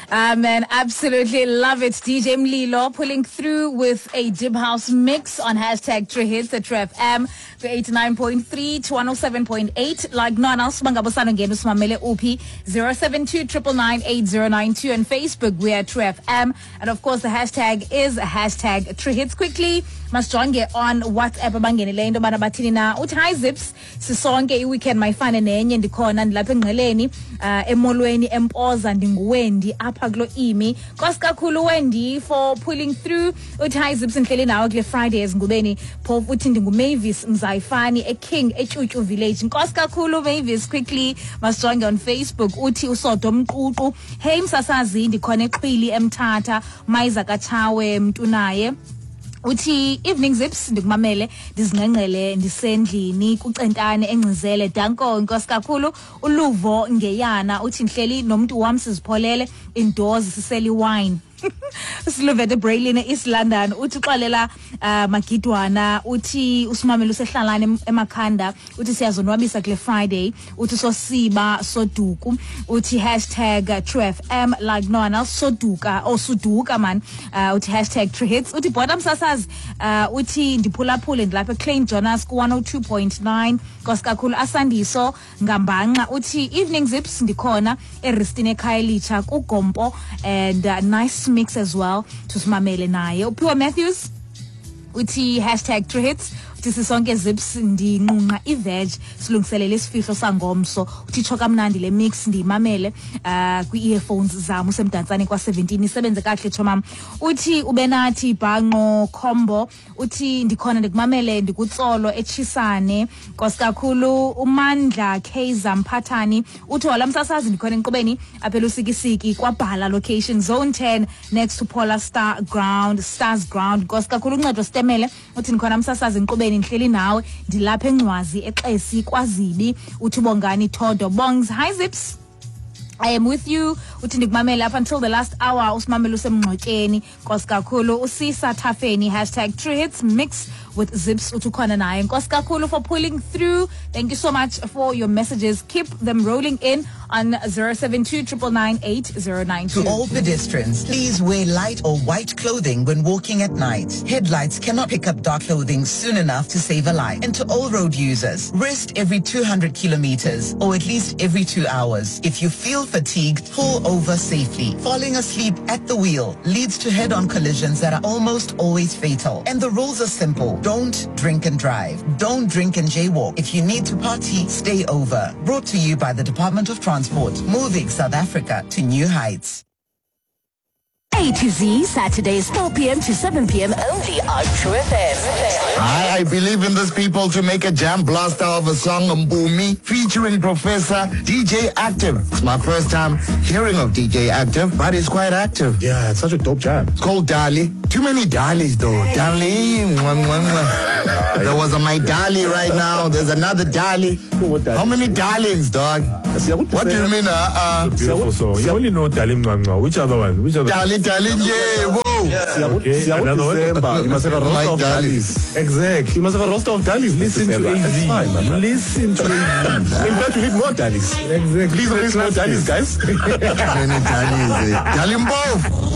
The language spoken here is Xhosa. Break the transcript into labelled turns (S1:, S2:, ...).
S1: Man, absolutely love it. DJ Mlilo pulling through with a Jib House mix on hashtag True Hits at True FM to 89.3 to 107.8. Like no one else, bangabosano ngenu simamele uphi 072 999 and Facebook we are True FM. And of course the hashtag is hashtag True Hits. Quickly, masijonge on WhatsApp abangenileyo into yobana bathini na. Uthi hi Zips, sisonke i-weekend mayifane nenye, ndikhona ndilapha engqeleni, emolweni empoza, ndinguWendy apha kulo imi. Nkosi kakhulu Wendy for pulling through. Uthi hi Zips, ndihleli nawe kule Friday ezingubeni, phofu uthi ndinguMavis Mzayifani eKing eTyutyu Village. Nkosi kakhulu Mavis. Quickly masijonge on Facebook. Uthi uSodo Mququ, hey msasazi, ndikhona eXhwili eMthatha, Mayiza kaTshawe Mntunaye. Uthi evening Zips, ndikumamele ndizingqengqele ndisendlini kucentane engcizele, danko. Nkosi kakhulu. Uluvo Ngeyana uthi ndihleli nomntu wam sizipholele indoors sisele wine. Siluvete Braylin East London uthi uxolela Magidwana, uthi usimamele usehlalane emakhanda, uthi siyazonwabisa kule Friday. Uthi sosiba soduku, uthi hashtag True FM like no one else, soduka oh suduka man, uthi hashtag True Hits. Uthi bota msasazi, uthi ndiphulaphule ndilapha eClain Jonas ku 102.9. Nkosi kakhulu. Asandiso Ngambanxa uthi evening Zips, ndikhona eRistine eKhayelitsha kuGompo and nice mix as well, tusimamele naye. Uphiwa Matthews uthi hashtag True Hits, uthi sisonke Zips, ndinqunqa i-veg silungiselele isifihlo sangomso. Uthi tsho kamnandi le mix, ndiyimamele kwi-earphones zam usemdantsane kwa-17, isebenze kakuhle tshomam. Uthi ubenathi bhanqo combo, uthi ndikhona ndikumamele ndikutsolo etshisane. Nkosi kakhulu. Umandla Kaiser Mphathani uthi wala msasazi, ndikhona enkqubeni apha elusikisiki kwabhala location zone 10 next to Polar Star Ground, Stars Ground. Nkosi kakhulu. Uncedo Sitemele uthi ndikhona msasazi enkqubeni, ndihleli nawe ndilapha eNgcwazi eXesi kwaZibi. Uthi Bongani Todo Bongs, hi Zips, I am with you. Uthi ndikumamele up until the last hour, usimamele usemngxotyeni. Nkosi kakhulu. Usisa Thafeni, hashtag True Hits mix with Zips, uthi ukhona naye. Nkosi kakhulu for pulling through. Thank you so much for your messages. Keep them rolling in on 072 999.
S2: To all pedestrians, please wear light or white clothing when walking at night. Headlights cannot pick up dark clothing soon enough to save a life. And to all road users, rest every 200 kilometers or at least every 2 hours. If you feel fatigued, pull over safely. Falling asleep at the wheel leads to head-on collisions that are almost always fatal. And the rules are simple. Don't drink and drive. Don't drink and jaywalk. If you need to party, stay over. Brought to you by the Department of Transport, moving South Africa to new heights.
S3: A to Z, Saturdays, 4 p.m. to 7 p.m. only on True FM.
S4: I believe in these people to make a jam blaster of a song, Mbumi, featuring Professor DJ Active. It's my first time hearing of DJ Active, but it's quite active.
S5: Yeah, it's such a dope jam.
S4: It's called Dali. Too many Dalis though. Dali. Mwah, mwah, mwah. There was a my Dali right now. There's another Dali.
S5: What Dali?
S4: How many Darlings, dog? What do you mean?
S6: Beautiful song. You only know Dali Mwah Mwah. Which other one? Which other?
S4: Dali, Dali, yeah, whoa.
S6: Okay, another one.
S5: December. You must have a roster
S4: My
S5: of
S4: Dalis.
S5: Dalis.
S6: Exactly.
S5: You must have a roster of Dalis.
S6: Listen to
S5: December.
S6: AZ.
S5: It's fine, my brother.
S6: Listen to AZ.
S5: In fact, we need more Dalis.
S6: Exactly.
S5: Please release more Dalis, guys.
S4: Many Dalis, eh. Dali Mpofu.